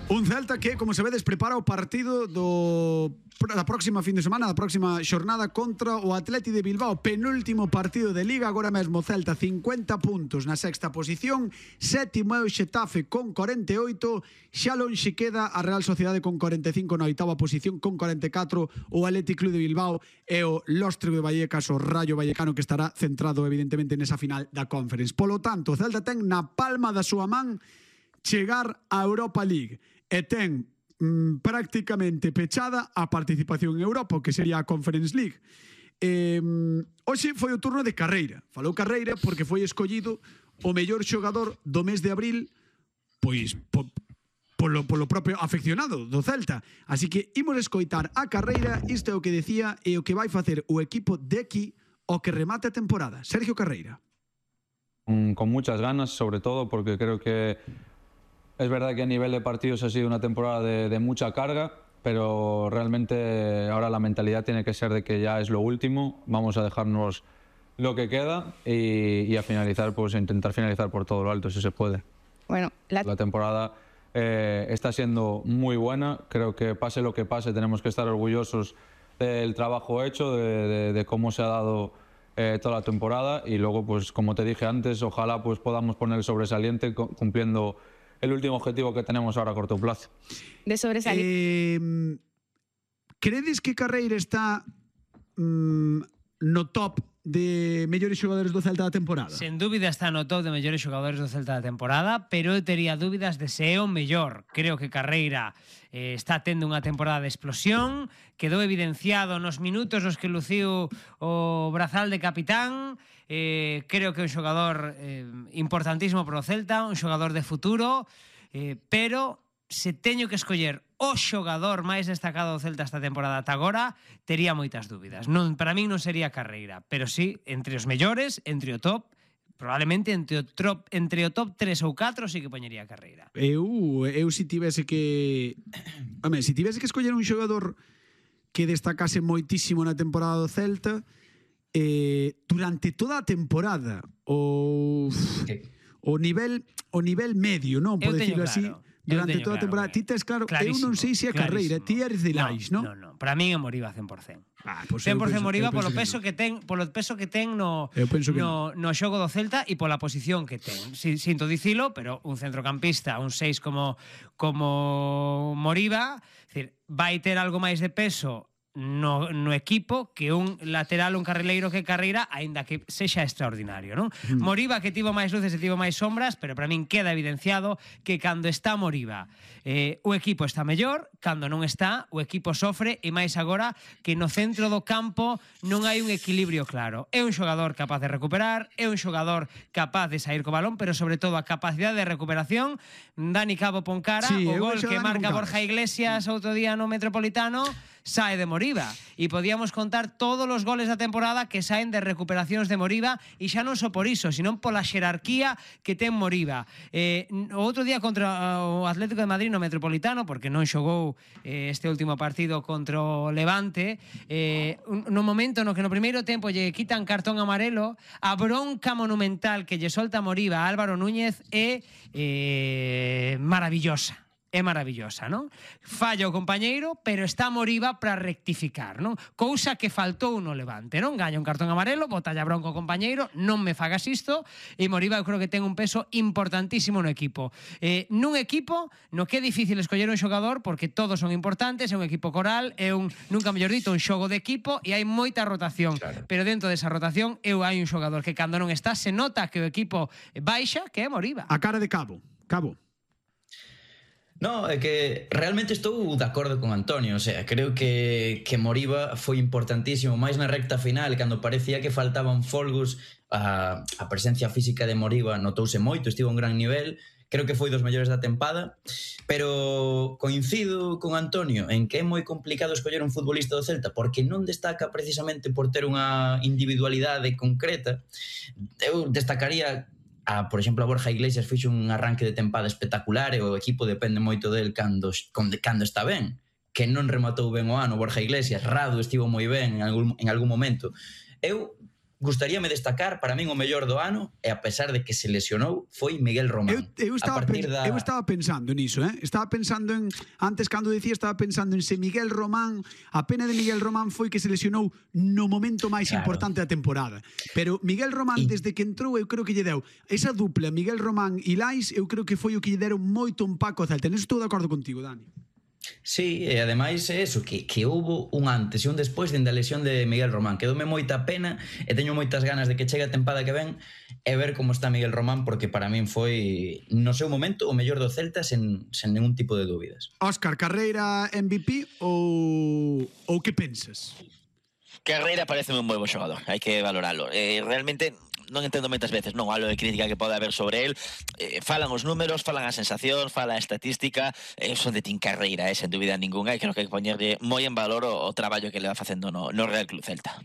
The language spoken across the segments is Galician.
Un Celta que, como se vedes, prepara o partido da próxima fin de semana, da próxima xornada contra o Atleti de Bilbao, penúltimo partido de Liga. Agora mesmo Celta 50 puntos na sexta posición, sétimo é o Xetafe con 48, xa lonxe queda a Real Sociedade con 45 na oitava posición, con 44 o Athletic Club de Bilbao e o Lóstrego de Vallecas, o Rayo Vallecano, que estará centrado evidentemente nesa final da Conference. Polo tanto, o Celta ten na palma da súa man chegar á Europa League e ten prácticamente pechada a participación en Europa, que sería a Conference League. Hoxe foi o turno de Carreira. Falou Carreira porque foi escollido o mellor xogador do mes de abril, pois polo propio afeccionado do Celta. Así que imos escoitar a Carreira. Isto é o que decía e o que vai facer o equipo de aquí o que remate a temporada. Sergio Carreira. Con muchas ganas, sobre todo porque creo que es verdad que a nivel de partidos ha sido una temporada de mucha carga, pero realmente ahora la mentalidad tiene que ser de que ya es lo último, vamos a dejarnos lo que queda y a finalizar, pues a intentar finalizar por todo lo alto, si se puede. Bueno, la temporada está siendo muy buena, creo que pase lo que pase tenemos que estar orgullosos del trabajo hecho, de cómo se ha dado toda la temporada, y luego, pues como te dije antes, ojalá pues podamos poner el sobresaliente cumpliendo el último objetivo que tenemos ahora a corto plazo. De sobresaliente. Credes que Carreira está no top de mellores xogadores do Celta da temporada? Sen dúbida está no top de mellores xogadores do Celta da temporada, pero eu tería dúbidas de se é o mellor. Creo que Carreira está tendo unha temporada de explosión, quedou evidenciado nos minutos nos que luciu o brazal de capitán. Creo que é un xogador importantísimo para o Celta, un xogador de futuro, pero se teño que escoller o xogador máis destacado do Celta esta temporada ata agora, tería moitas dúbidas. Non, para min non sería Carreira, pero sí, entre os mellores, entre o top, probablemente entre o top 3 ou 4 sí que poñería Carreira. Eu se tivese que escoller un xogador que destacase moitísimo na temporada do Celta, durante toda a temporada o nivel medio, non? Por decirlo así, durante toda a temporada. Ti tes claro, eu non sei se é Carreira, ti eres de Lais, non? Non, para min é Moriba 100%. 100% Moriba polo peso que ten no xogo do Celta e pola posición que ten. Sinto dicilo, pero un centrocampista, un 6 como Moriba, vai ter algo máis de peso no equipo que un lateral, un carrileiro que Carreira, aínda que sexa extraordinario, non? Moriba que tivo máis luces e tivo máis sombras, pero para min queda evidenciado que cando está Moriba o equipo está mellor, cando non está o equipo sofre, e máis agora que no centro do campo non hai un equilibrio claro. É un xogador capaz de recuperar, é un xogador capaz de sair co balón, pero sobre todo a capacidade de recuperación. Dani Cabo pon cara, o gol que marca Borja Iglesias outro día no Metropolitano sae de Moriba, e podíamos contar todos os goles da temporada que saen de recuperacións de Moriba, e xa non só por iso, sino pola xerarquía que ten Moriba. O outro día contra o Atlético de Madrid no Metropolitano, porque non xogou este último partido contra o Levante, no momento no que no primeiro tempo lle quitan cartón amarelo, a bronca monumental que lle solta Moriba a Álvaro Núñez é maravillosa. É maravillosa, non? Falla o compañeiro, pero está Moriba para rectificar, non? Cousa que faltou no Levante, non? Gaña un cartón amarelo, botalla bronco o compañeiro, non me fagas isto, e Moriba eu creo que ten un peso importantísimo no equipo. Nun equipo no que é difícil escoller un xogador porque todos son importantes, é un equipo coral, é nunca mellor dito, un xogo de equipo, e hai moita rotación, claro. Pero dentro desa rotación hai un xogador que cando non está se nota que o equipo baixa, que é Moriba. A cara de Cabo. No, é que realmente estou de acordo con Antonio, o sea, creo que Moriba foi importantísimo, máis na recta final, cando parecía que faltaban folgos, a presencia física de Moriba notouse moito, estivo a un gran nivel, creo que foi dos mellores da tempada, pero coincido con Antonio en que é moi complicado escoller un futbolista do Celta porque non destaca precisamente por ter unha individualidade concreta. Eu destacaría por exemplo, a Borja Iglesias fixo un arranque de tempada espectacular e o equipo depende moito del cando está ben, que non rematou ben o ano Borja Iglesias. Rado estivo moi ben en algún momento. Eu gustaríame destacar, para min o mellor do ano, e a pesar de que se lesionou, foi Miguel Román. Eu estaba pensando niso, Estaba pensando en, antes cando dicía, estaba pensando en se Miguel Román, a pena de Miguel Román foi que se lesionou no momento máis importante da temporada. Pero Miguel Román, desde que entrou, eu creo que lle deu esa dupla, Miguel Román e Lais, eu creo que foi o que lle deron moito un paco ao Celta. Neso estou de acordo contigo, Dani. Sí, e ademais é eso, que houbo un antes e un despois dende a lesión de Miguel Román. Quedoume moita pena e teño moitas ganas de que chegue a tempada que ven e ver como está Miguel Román, porque para min foi, no seu momento, o mellor do Celta sen ningún tipo de dúbidas. Óscar, carreira MVP ou que pensas? Carreira parece un moi bo xogador, hai que valoralo. Realmente non entendo moitas veces, non, algo de crítica que pode haber sobre el. Falan os números, falan a sensación, fala a estatística, son de Tim Carreira, sen dúbida ninguna, e creo que hai que poñerlle moi en valor o traballo que le va facendo no Real Club Celta.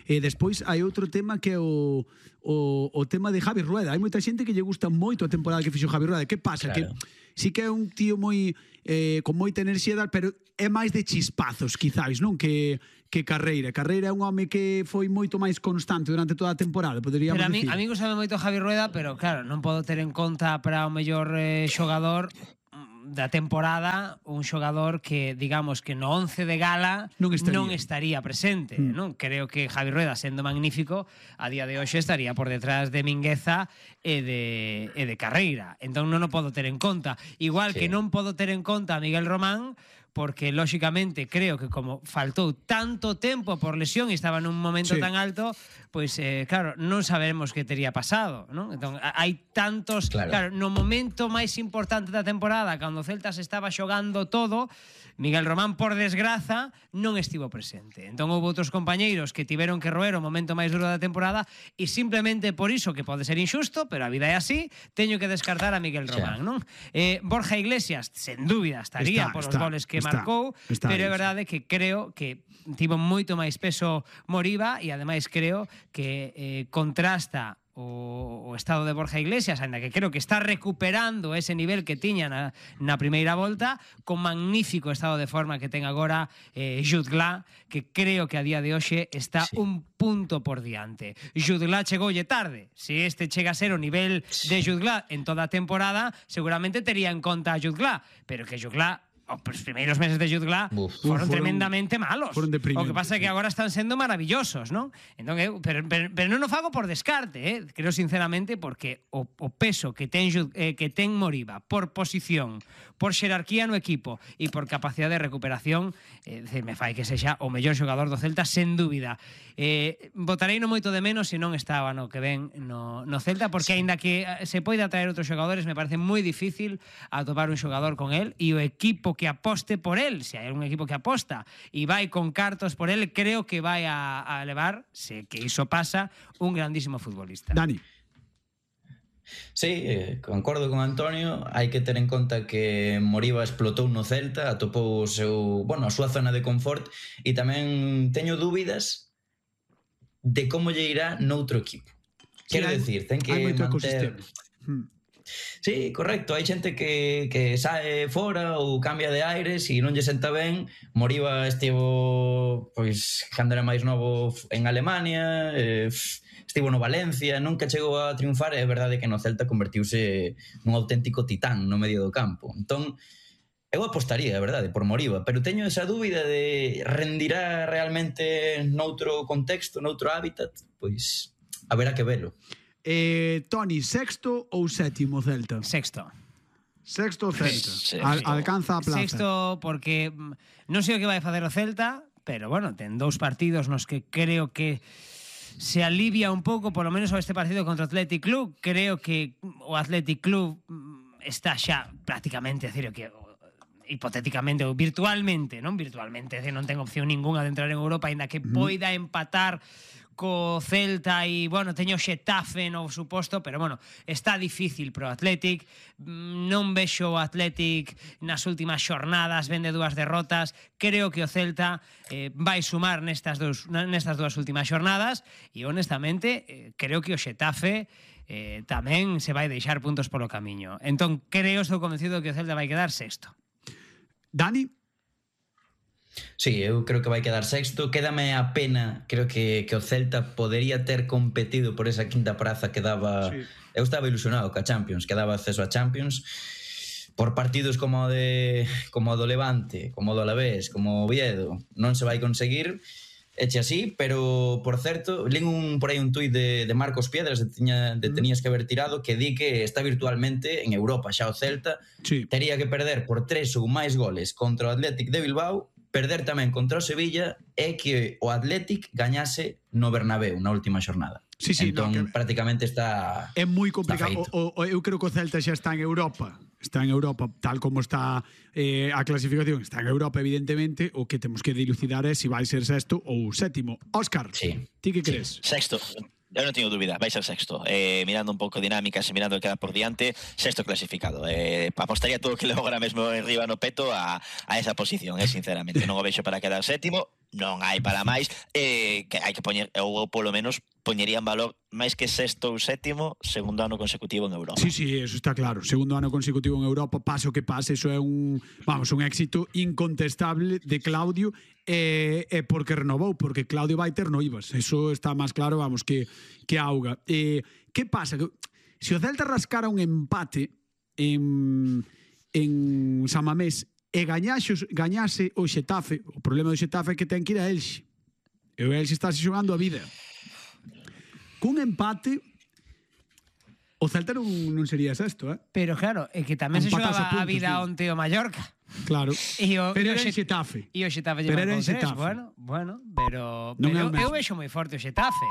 E despois hai outro tema que é o tema de Javi Rueda. Hai moita xente que lle gusta moito a temporada que fixo Javi Rueda. Que pasa? Claro. Que sí que é un tío moi con moita enerxía, pero é máis de chispazos, quizáis, non? Que Carreira. Carreira é un home que foi moito máis constante durante toda a temporada, poderíamos decir. Pero a mí gustame moito Javi Rueda, pero claro, non podo ter en conta para o mellor xogador da temporada un xogador que, digamos, que no 11 de gala non estaría presente, non? Creo que Javi Rueda, sendo magnífico, a día de hoxe estaría por detrás de Mingueza e de Carreira. Entón non o podo ter en conta. Igual que non podo ter en conta a Miguel Román, porque lóxicamente creo que como faltou tanto tempo por lesión e estaba nun momento tan alto, pois claro, non sabemos que tería pasado, non? Entón, hai tantos, claro, no momento máis importante da temporada, cando o Celta se estaba xogando todo, Miguel Román, por desgraza, non estivo presente. Entón houve outros compañeiros que tiveron que roer o momento máis duro da temporada e simplemente por iso, que pode ser injusto, pero a vida é así, teño que descartar a Miguel Román, non? Borja Iglesias, sen dúbida, estaría por os goles que marcou, pero é verdade que creo que tivo moito máis peso Moriba e ademais creo que contrasta o estado de Borja Iglesias, ainda que creo que está recuperando ese nivel que tiña na primeira volta, con magnífico estado de forma que ten agora Jude Gla, que creo que a día de hoxe está un punto por diante. Jude Gla chegoulle tarde. Se este chega a ser o nivel de Jude Gla en toda a temporada, seguramente tería en conta a Jude Gla, pero que Jude Gla os primeiros meses de Jude Gla foron tremendamente malos. O que pasa é que agora están sendo maravillosos, non? Entón, pero non o fago por descarte, creo sinceramente porque o peso que ten Moriba por posición, por xerarquía no equipo e por capacidade de recuperación, me fai que sexa o mellor xogador do Celta, sen dúbida. Botarei no moito de menos se non estaba no que ven no Celta, porque aínda que se poida traer outros xogadores, me parece moi difícil atopar un xogador con él, e o equipo que aposte por él, se hai un equipo que aposta e vai con cartos por él, creo que vai a levar, se que iso pasa, un grandísimo futbolista. Dani. Sí, concordo con Antonio. Hai que ter en conta que Moriba explotou no Celta, atopou a súa zona de confort, e tamén teño dúbidas de como lle irá noutro equipo. Quero decir, ten que manter... Sí, correcto, hai xente que sae fora ou cambia de aires e non lle senta ben. Moriba estivo, pois, cando era máis novo en Alemania, estivo no Valencia, nunca chegou a triunfar, e é verdade que no Celta convertiuse nun auténtico titán no medio do campo. Entón, eu apostaría, é verdade, por Moriba, pero teño esa dúbida de rendirá realmente noutro contexto, noutro hábitat, pois haberá que velo. Toni, sexto ou sétimo Celta? Sexto. Sexto Celta. Alcanza a plaza. Sexto porque non sei o que vai facer o Celta, pero bueno, ten 2 partidos nos que creo que se alivia un pouco, polo menos este partido contra o Athletic Club. Creo que o Athletic Club está xa prácticamente, decir, que hipotéticamente ou virtualmente, non ten opción ninguna de entrar en Europa, aínda que poida empatar co Celta e, bueno, teño Xetafe no suposto, pero, bueno, está difícil pro Athletic. Non vexo o Athletic nas últimas xornadas, vende 2 derrotas. Creo que o Celta vai sumar nestas dúas últimas xornadas e, honestamente, creo que o Xetafe tamén se vai deixar puntos polo camiño. Entón, estou convencido que o Celta vai quedar sexto. Dani? Sí, eu creo que vai quedar sexto. Quédame a pena, creo que o Celta podería ter competido por esa quinta praza que daba... Sí. Eu estaba ilusionado ca Champions, que daba acceso a Champions. Por partidos como o do Levante, como o do Alavés, como o Oviedo, non se vai conseguir, eche así, pero, por certo, lín por aí un tuit de Marcos Piedras de Tenías que haber tirado, que di que está virtualmente en Europa xa o Celta, sí. Tería que perder por 3 ou máis goles contra o Athletic de Bilbao, perder tamén contra o Sevilla e que o Athletic gañase no Bernabéu na última xornada. Sí, sí, entón, no, prácticamente está... É moi complicado. Eu creo que o Celta xa está en Europa. Está en Europa, tal como está a clasificación. Está en Europa, evidentemente. O que temos que dilucidar é se vai ser sexto ou sétimo. Óscar, sí. Ti que crees? Sexto. Eu non teño dúbida, vai ser sexto. Mirando un pouco dinámicas e mirando o que queda por diante, sexto clasificado. Apostaría todo o que levo agora mesmo enriba no peto a esa posición, sinceramente. Non o vexo para quedar sétimo, non hai para máis, que hai que poñer, ou polo menos poñería en valor máis que sexto ou sétimo, segundo ano consecutivo en Europa. Sí, sí, eso está claro. Segundo ano consecutivo en Europa, pase o que pase, eso é un éxito incontestable de Claudio, e porque renovou, porque Claudio vai ter noivas. Eso está máis claro, que auga. Que pasa? Se o Celta rascara un empate en San Mamés e gañase o Xetafe, o problema do Xetafe é que ten que ir a Elxe. E o Elxe está xogando a vida. Cun empate o Celta non sería sexto, Pero claro, é que tamén se xogaba a vida onte o Mallorca. Claro, pero era en Xetafe. E o Xetafe lleva con 3, bueno, pero eu vexo moi forte o Xetafe,